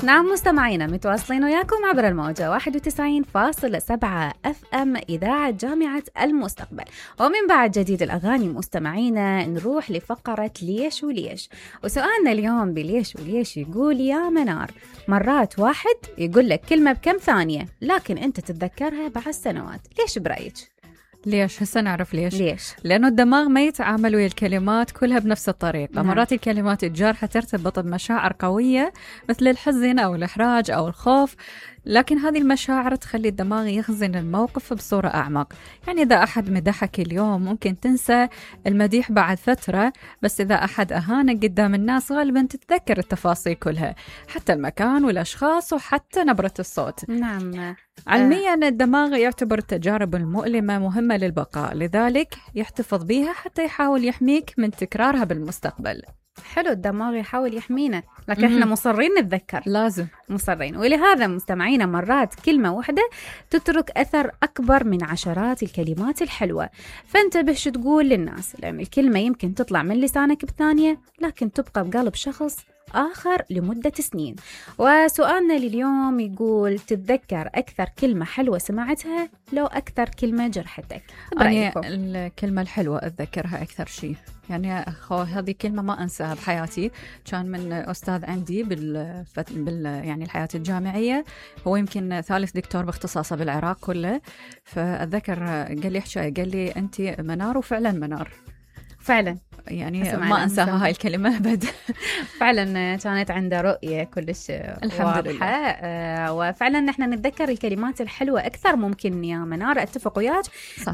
نعم مستمعينا، متواصلين وياكم عبر الموجة 91.7 FM إذاعة جامعة المستقبل. ومن بعد جديد الأغاني مستمعينا نروح لفقرة ليش وليش. وسؤالنا اليوم بليش وليش يقول: يا منار، مرات واحد يقول لك كلمة بكم ثانية لكن أنت تتذكرها بعد سنوات، ليش برأيك؟ ليش؟ هسه نعرف ليش. لأنه الدماغ ما يتعامل ويا الكلمات كلها بنفس الطريقة. مرات الكلمات الجارحة ترتبط بمشاعر قوية مثل الحزن أو الإحراج أو الخوف، لكن هذه المشاعر تخلي الدماغ يخزن الموقف بصورة أعمق. يعني إذا أحد مدحك اليوم ممكن تنسى المديح بعد فترة، بس إذا أحد أهانك قدام الناس غالبا تتذكر التفاصيل كلها، حتى المكان والأشخاص وحتى نبرة الصوت. نعم. علميا الدماغ يعتبر التجارب المؤلمة مهمة للبقاء، لذلك يحتفظ بها حتى يحاول يحميك من تكرارها بالمستقبل. حلو، الدماغ يحاول يحمينا، لكن احنا مصرين نتذكر، لازم مصرين. ولهذا مستمعينا مرات كلمة واحدة تترك أثر أكبر من عشرات الكلمات الحلوة. فانتبه شو تقول للناس، لأن الكلمة يمكن تطلع من لسانك بثانية لكن تبقى بقلب شخص آخر لمدة سنين. وسؤالنا لليوم يقول: تتذكر أكثر كلمة حلوة سمعتها لو أكثر كلمة جرحتك؟ برأيكم؟ الكلمة الحلوة أتذكرها أكثر شيء، يعني هذه كلمة ما أنساها بحياتي. كان من أستاذ عندي يعني الحياة الجامعية، هو يمكن ثالث دكتور باختصاصه بالعراق كله. فأتذكر قال لي أنت منار، وفعلا منار فعلا، يعني ما أنساها هاي الكلمة أبدا. فعلا كانت عنده رؤية كلش الحمد لله. وفعلا نحن نتذكر الكلمات الحلوة أكثر. ممكن يا منار أتفق وياك،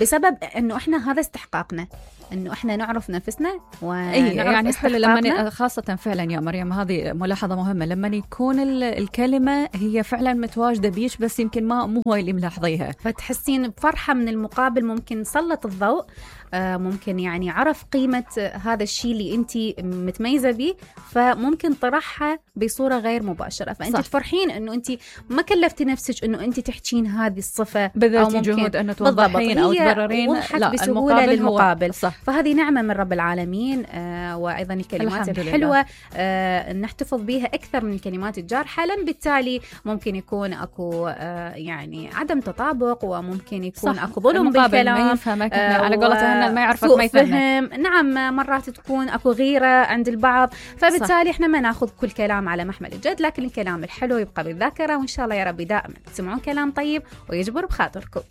بسبب أنه إحنا هذا استحقاقنا، أنه إحنا نعرف نفسنا ونعرف يعني استحقاقنا. خاصة فعلا يا مريم، هذه ملاحظة مهمة، لما يكون الكلمة هي فعلا متواجدة بيش بس يمكن مو هو اللي ملاحظيها، فتحسين بفرحة من المقابل. ممكن سلط الضوء، ممكن يعني عرف قيمة هذا الشيء اللي أنت متميزة به، فممكن طرحها بصورة غير مباشرة. فأنت تفرحين أنه أنت ما كلفتي نفسك أنه أنت تحكين هذه الصفة بذاتي جهود أنه توضحين أو تبررين، لا بسهولة للمقابل. فهذه نعمة من رب العالمين. وأيضا الكلمات الحلوة نحتفظ بها أكثر من الكلمات الجارحة، لأن بالتالي ممكن يكون أكو يعني عدم تطابق، وممكن يكون أكو ظلم بالكلام، ما يفهمك على قولتها ما يعرفك ما يفهمك. نعم، مرات تكون أكو غيرة عند البعض، فبالتالي إحنا ما ناخذ كل كلام على محمل الجد، لكن الكلام الحلو يبقى بالذاكرة. وإن شاء الله يا رب دائما تسمعون كلام طيب ويجبر بخاطركم.